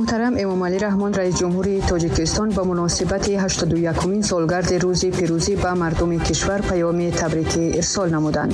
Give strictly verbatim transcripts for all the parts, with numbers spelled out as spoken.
Муҳтарам Эмомалӣ Раҳмон, раис ҷумҳури Тоҷикистон, ба муносибати ҳаштоду якумин солгарди рӯзи пирӯзӣ ба мардуми кишвар паёми табрикӣ ирсол намуданд.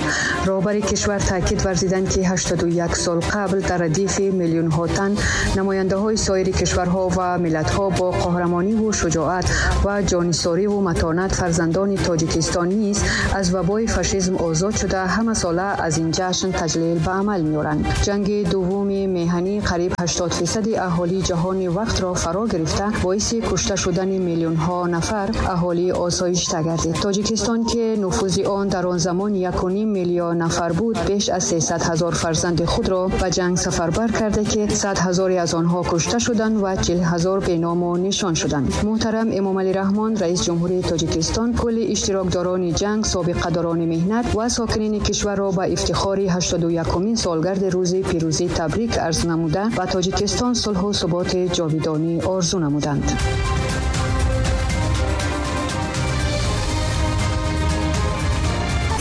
Роҳбари кишвар таъкид варзиданд, ки ҳаштоду як сол қабл дар радифи миллионҳо тан намояндаҳои соири кишварҳо ва миллатҳо бо қаҳрамониву шуҷоат ва ҷонисориву матонат фарзандони Тоҷикистон низ аз вабои фашизм озод шуда ҳамасола аз ин ҷашн таҷлил ба амал меоранд. Ҷанги дуввуми меҳанӣ қариб ҳаштод фисади аҳолии ҷаҳони вақтро фаро гирифта, боиси кушта шудани миллионҳо нафар аҳолии осоишта гардид. Тоҷикистон, ки нуфузи он дар он замон як ва ним миллион нафар буд, беш аз сесад ҳазор фарзанди худро ба ҷанг сафарбар карда, ки сад ҳазоре аз онҳо кушта шуданд ва чил ҳазор беному нишон шуданд. Муҳтарам Эмомалӣ Раҳмон, раис ҷумҳурии Тоҷикистон, кулли иштирокдорони ҷанг, собиқадорони меҳнат ва сокинини кишварро ба ифтихори ҳаштоду якумин солгарди рӯзи пирӯзӣ табрик арз намуда ба Тоҷикистон сулҳу суботи ҷовидонӣ орзу намуданд.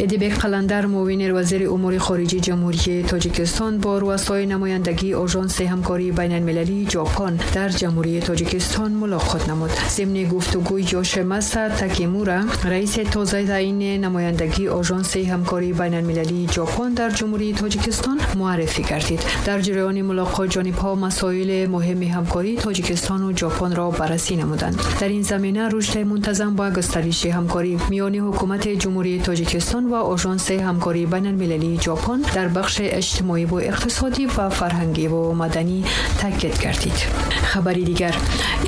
Эдибек Қаландар, муовини вазири умури хориҷии Ҷумҳурии Тоҷикистон, бо рӯасои намояндагии Ожонси ҳамкории байналмилалии Ҷопон дар Ҷумҳурии Тоҷикистон мулоқот намуд. Зимни гуфтугӯи Ёшимаса Такемура, раиси тозатаъини намояндагии Ожонси ҳамкории байналмилалии Ҷопон дар Ҷумҳурии Тоҷикистон муаррифӣ гардид. Дар ҷараёни мулоқот ҷонибҳо масоили муҳими ҳамкории Тоҷикистону Ҷопонро баррасӣ намуданд. Дар ин замина рушди мунтазам ба густариши ҳамкорӣ миёни ҳукумати Ҷумҳурии Тоҷикистон ва Ожонси ҳамкории байналмилалии Ҷопон дар бахши иҷтимоӣ ва иқтисодӣ ва фарҳангӣ ва маданӣ таъкид гардид. Хабари дигар.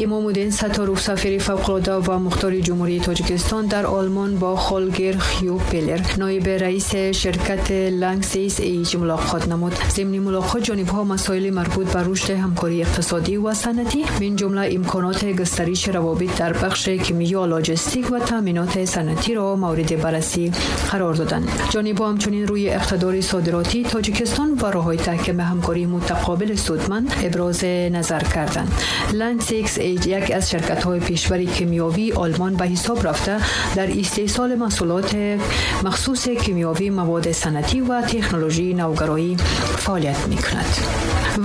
Имомуддин Сатторов, сафири фавқулодда ва мухтори Ҷумҳурии Тоҷикистон дар Олмон, бо Холгер Хюпелер, ноиби раиси ширкати Ланксис Эйҷ мулоқот намуд. Зимни мулоқот ҷонибҳо масоили марбут ба рушди ҳамкории иқтисодӣ ва санъатӣ, мин ҷумла имконоти густариши равобит дар бахши кимиё, лоҷистик ва таъминоти санъатиро мавриди баррасӣ қарор доданд. Ҷонибҳо ҳамчунин рӯи иқтидори содиротии Тоҷикистон ва роҳҳои таҳкими ҳамкории мутақобили судманд ибрози назар карданд. Ланксис Эйҷ яке аз ширкатҳои пешбари кимиёвии Олмон ба ҳисоб рафта, дар истеҳсоли маҳсулоти махсуси кимиёвӣ, маводи санъатӣ ва технологияи навгароӣ фаъолият мекунад.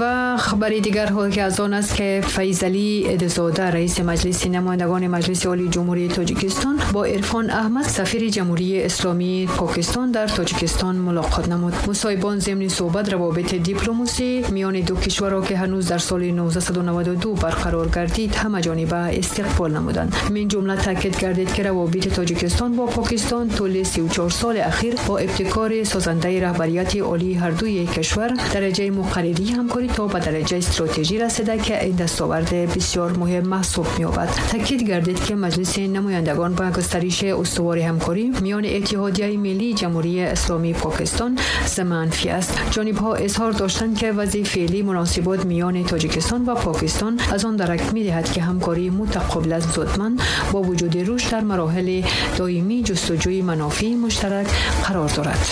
Ва хабари дигар ки аз он аст, ки Файзалӣ Эдизода, раиси Маҷлиси намояндагони Маҷлиси Олии Ҷумҳурии Тоҷикистон, бо Ирфон Аҳмад, сафири Ҷумҳурии Исломии Покистон дар Тоҷикистон мулоқот намуд. Мусоҳибон зимни суҳбат равобити дипломасӣ миёни ду кишварро, ки ҳанӯз дар соли нуздаҳсаду наваду ду барқарор гардид, ҳамаҷониба истиқбол намуданд. Мин ҷумла таъкид гардид, ки равобити Тоҷикистон бо Покистон тӯли сию чор соли ахир бо ибтикори созандаи раҳбарияти олии ҳардуи кишвар дараҷаи муқарририи ҳамкорӣ то ба дараҷаи стратегӣ расида, ки ин дастовард бисёр муҳим маҳсуб меёбад. Таъкид гардид, ки Маҷлиси намояндагон ба густариши устувори ҳамкорӣ миёни Иттиҳодияи Миллии Ҷумҳурии Исломии Покистон манфӣ аст. Ҷонибҳо изҳор доштанд, ки вазъи феълии муносибот миёни Тоҷикистон ва Покистон аз он дарак медиҳад, ки ҳамкории мутақобилан судманд бо вуҷуди рушд дар мароҳили доимии ҷустуҷӯи манофеи муштарак қарор дорад.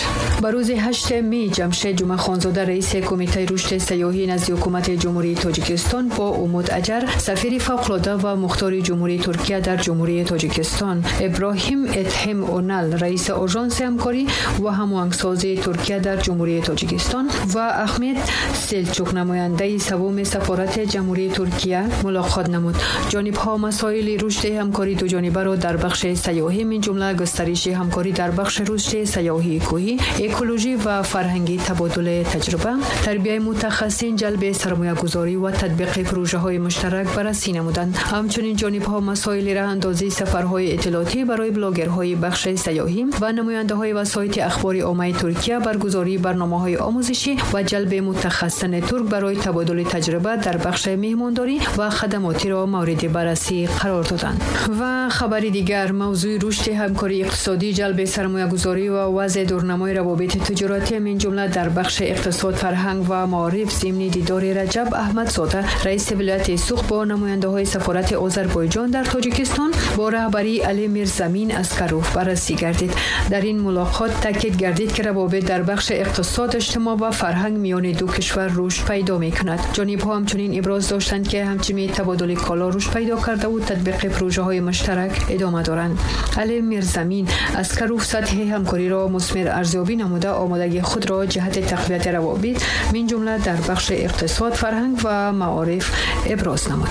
Ба рӯзи ҳашти май Ҷамшед Ҷумъахонзода, раиси Кумитаи рушди сайёҳӣ назди ҳукумати Ҷумҳурии Тоҷикистон, бо Умуд Аҷар, сафири фавқулодда ва мухтори Ҷумҳурии Туркия дар Ҷумҳурии Тоҷикистон, Иброҳим Этҳем Онал, раиси Ожонси ҳамкорӣ ва ҳамоҳангсозии Туркия дар Ҷумҳурии Тоҷикистон, ва Аҳмед Селчук, намояндаи севуми сафорати Ҷумҳурии Туркия мулоқот намуд. Ҷонибҳо масоили рушди ҳамкории дуҷонибаро дар бахши сайёҳӣ, мин ҷумла густариши ҳамкорӣ дар бахши рушди сайёҳии кӯҳӣ, экологӣ ва фарҳангӣ, табодули таҷриба, тарбияи мутахассисин, ҷалби сармоягузорӣ ва татбиқи пурӯжаҳои муштарак баррасӣ намуданд. Ҳамчунин ҷонибҳо масоили роҳандозии сафарҳои иттилоотӣ барои блогерҳои бахши сайёҳӣ ва намояндаҳои васоити ахбори оммаи Туркия, баргузории барномаҳои омӯзишӣ ва ҷалби мутахассисони турк барои табодули таҷриба дар бахши меҳмондорӣ ва хадамотиро мавриди баррасӣ қарор доданд. Ва хабари дигар. Мавзӯи рушди ҳамкории иқтисодӣ, ҷалби сармоягузорӣ ва вазъи дурнамои равобити тиҷоратӣ, мин ҷумла дар бахши иқтисод, фарҳанг ва маориф, зимни дидори Раҷаб Аҳмадзода, раиси вилояти Суғд, бо намояндаҳои сафорати Озарбойҷон дар Тоҷикистон бо раҳбарии Али Мирзамин Аскаров баррасӣ гардид. Дар ин мулоқот таъкид гардид, ки равобит дар бахши иқтисод, иҷтимоъ ва фарҳанг миёни ду кишвар рушд пайдо мекунад. Ҷонибҳо ҳамчунин иброз доштанд, ки ҳамчунин табодули коло рушд пайдо кардаву татбиқи пурӯжаҳои муштарак идома доранд. Али Мирзамин Аскаров сатҳи ҳамкориро мусмир арзёбӣ намуда, омодагии худро ҷиҳати тақвияти равобит, мин ҷумла дар бахши بخش اقتصاد، فرهنگ و معارف ابراز نمود.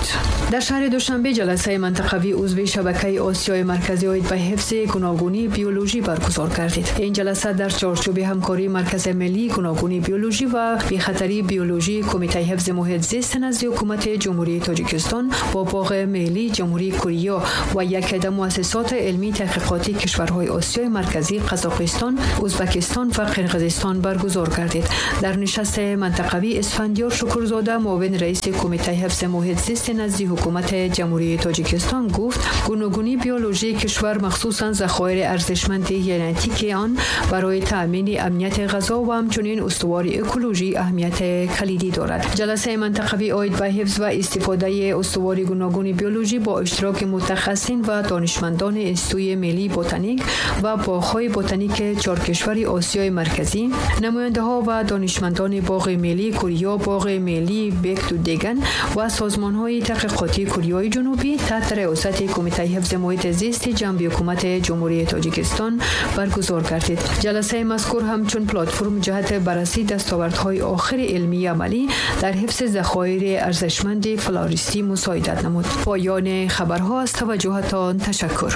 در شهر دوشنبه جلسه منطقوی عضو شبکه آسیای مرکزی عاید به حفظ گوناگونی بیولوژی برگزار گردید. این جلسه در چارچوب همکاری مرکز ملی گوناگونی بیولوژی و بی‌خطری بیولوژی کمیته حفظ محیط زیست نزد حکومت جمهوری تاجیکستان با باغ ملی جمهوری کره و یک عده مؤسسات علمی تحقیقاتی کشورهای آسیای مرکزی، قزاقستان، ازبکستان و قرقیزستان برگزار گردید. در نشست منطقوی اسفندیار شکرزاده، معاون رئیس کمیته حفظ محیط زیست نزد حکومت جمهوری تاجیکستان گفت: گوناگونی بیولوژی کشور، مخصوصا ذخایر ارزشمند ژنتیکی آن، برای تأمین امنیت غذا و همچنین استوار اکولوژی اهمیت کلیدی دارد. جلسه منطقوی عاید به حفظ و استفاده استوار گوناگونی بیولوژی با اشتراک متخصصین و دانشمندان انستیتوی ملی بوتانیک و باغ‌های بوتانیک چهار کشور آسیای مرکزی، نماینده‌ها و دانشمندان باغ ملی کره، باغ ملی بکتو-دگن و سازمان‌های تحقیقاتی کره جنوبی تحت ریاست کمیته حفظ محیط زیست جنبی حکومت جمهوری تاجیکستان برگزار گردید. جلسه مذکور همچون پلتفرم جهت بررسی دستاوردهای آخر علمی عملی در حفظ ذخایر ارزشمند فلوریستی مساعدت نمود. پایان خبرها. از توجهتان تشکر.